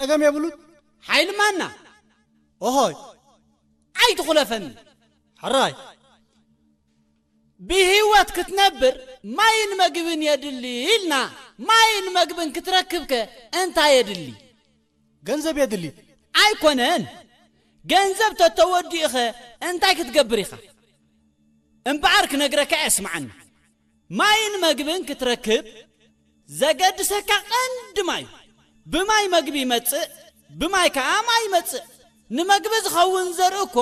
ጸገም የብሉን። ሓይሊ ማና ኦሆይ ኣይትኹለፈኒ። ሕራይ ብህይወት ክትነብር ማይን መግብን የድሊ ኢልና፣ ማይን መግብን ክትረክብከ እንታይ የድሊ? ገንዘብ የድሊ። ኣይኮነን። ገንዘብ ተተወዲእኸ እንታይ ክትገብር ኢኻ? እምበኣር ክነግረካ እየ፣ ስምዓኒ። ማይን መግብን ክትረክብ ዘገድሰካ ቀንዲ ማይ። ብማይ መግቢ ይመጽእ፣ ብማይ ከኣ ማይ ይመጽእ። ንመግቢ ዝኸውን ዘርኢ እኮ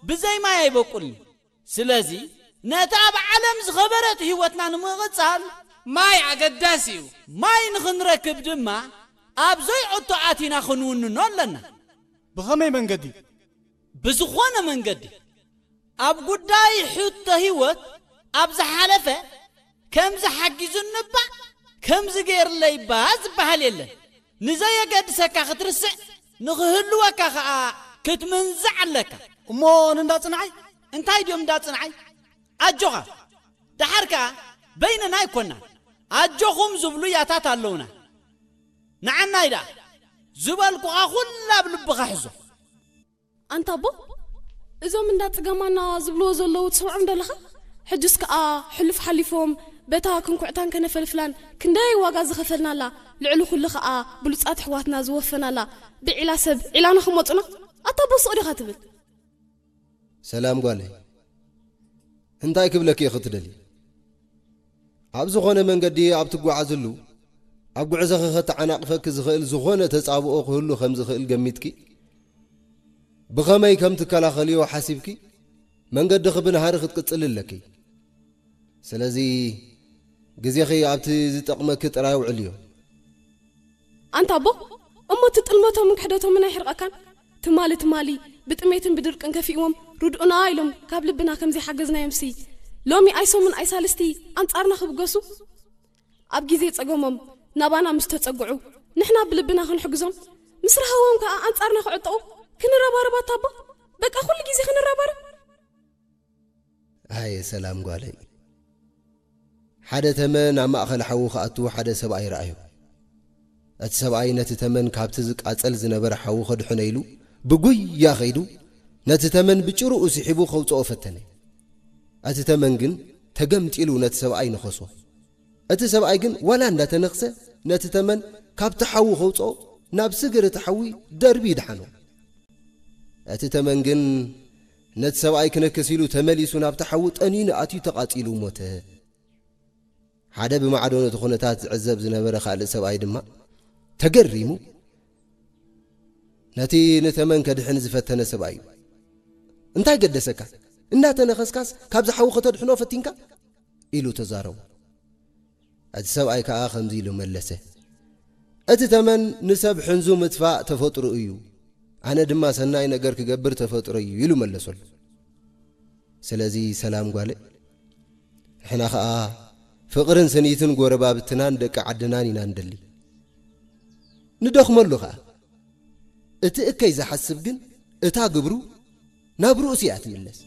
ብዘይ ማይ ኣይበቁልን። ስለዚ ነቲ ኣብ ዓለም ዝኸበረት ህይወትና ንምቕጻል ማይ ኣገዳሲ እዩ። ማይ ንኽንረክብ ድማ ኣብ ዘይዕቶ ኣቲና ክንውንኖ ኣለና። ብኸመይ መንገዲ? ብዝኾነ መንገዲ። ኣብ ጉዳይ ሕቶ ህይወት ኣብ ዝሓለፈ ከምዚ ሓጊዙኒ እባ ከምዚ ገይርለይ እባ ዝበሃል የለን። ንዘየገድሰካ ክትርስዕ፣ ንኽህልወካ ኸኣ ክትምንዛዕ ኣለካ። እሞ ንእንዳ ጽንዓይ? እንታይ ድዮም እንዳ ጽንዓይ? ኣጆኻ። ደሓር ከኣ በይንና ኣይኮናን። ኣጆኹም ዝብሉ ያታት ኣለውና። ንዓናይ ደኣ ዝበልኩኻ ኩላ ኣብ ልብኻ ሕዞ። ኣንታ ኣቦ፣ እዞም እንዳ ጽገማና ዝብልዎ ዘለዉ ትሰምዖም ዶ ኣለኻ? ሕጅስ ከኣ ሕሉፍ ሓሊፎም በታ ክንኩዕታን ከነፈልፍላን ክንደይ ዋጋ ዝኸፈልናላ፣ ልዕሊ ኩሉ ከኣ ብሉጻት ኣሕዋትና ዝወፈናላ ብዒላ ሰብ ዒላና ክመጹና? ኣታ ኣቦ ሱቕ ዲኻ ትብል? ሰላም ጓለይ፣ እንታይ ክብለኪ ኢኺ ትደልዪ? ኣብ ዝኾነ መንገዲ ኣብ ትጓዓዝሉ፣ ኣብ ጉዕዞኺ ከተዓናቕፈኪ ዝኽእል ዝኾነ ተጻብኦ ክህሉ ከም ዝኽእል ገሚትኪ፣ ብኸመይ ከም ትከላኸልዮ ሓሲብኪ፣ መንገድኺ ብናህሪ ክትቅጽሊ ኣለኪ። ስለዚ፣ ግዜኺ ኣብቲ ዝጠቕመኪ ጥራይ ኣውዕልዮ። ኣንታ ኣቦ፣ እሞ እቲ ጥልመቶምን ክሕደቶምን ኣይሕርቐካን? ትማሊ ትማሊ ብጥሜትን ብድርቅን ከፊእዎም ርድኡና ኢሎም ካብ ልብና ከም ዘይሓገዝናዮምሲ፣ ሎሚ ኣይሰሙን ኣይሳልስቲ ኣንጻርና ክብገሱ? ኣብ ግዜ ጸገሞም ናባና ምስ ተጸግዑ፣ ንሕና ብልብና ክንሕግዞም፣ ምስ ረሃዎም ከኣ ኣንጻርና ክዕጠቑ ክንረባረብ ኣታ ኣቦ፣ በቃ ኩሉ ግዜ ክንረባረብ። ኣየ ሰላም ጓለይ። ሓደ ተመን ኣብ ማእኸል ሓዊ ክኣቱ ሓደ ሰብኣይ ረኣዮ። እቲ ሰብኣይ ነቲ ተመን ካብቲ ዝቃጸል ዝነበረ ሓዊ ከድሕኖ ኢሉ ብጉያ ከይዱ ነቲ ተመን ብጭርኡ ስሒቡ ከውጽኦ ፈተነ። እቲ ተመን ግን ተገምጢሉ ነቲ ሰብኣይ ነኸሶ። እቲ ሰብኣይ ግን ዋላ እንዳተነኽሰ ነቲ ተመን ካብቲ ሓዊ ከውጽኦ ናብ ስግር እቲ ሓዊ ደርቢ ይድሓኖ። እቲ ተመን ግን ነቲ ሰብኣይ ክነክስ ኢሉ ተመሊሱ ናብቲ ሓዊ ጠኒኑ ኣትዩ ተቓጺሉ ሞተ። ሓደ ብማዕዶ ነቲ ኩነታት ዝዕዘብ ዝነበረ ካልእ ሰብኣይ ድማ ተገሪሙ ነቲ ንተመን ከድሕን ዝፈተነ ሰብኣይ እዩ። "እንታይ ገደሰካ? እንዳተነኸስካስ ካብዚ ሓዊ ከተድሕኖ ፈቲንካ?" ኢሉ ተዛረቦ። እቲ ሰብኣይ ከኣ ከምዚ ኢሉ መለሰ፣ "እቲ ተመን ንሰብ ሕንዙ ምጥፋእ ተፈጥሮ እዩ፣ ኣነ ድማ ሰናይ ነገር ክገብር ተፈጥሮ እዩ" ኢሉ መለሰሉ። ስለዚ ሰላም ጓለይ፣ ንሕና ኸኣ ፍቕርን ስኒትን ጎረባብትናን ደቂ ዓድናን ኢና ንደሊ። ንደኽመሉ ኸኣ። እቲ እከይ ዝሓስብ ግን እታ ግብሩ ናብ ርእሱ እያ ትምለስ።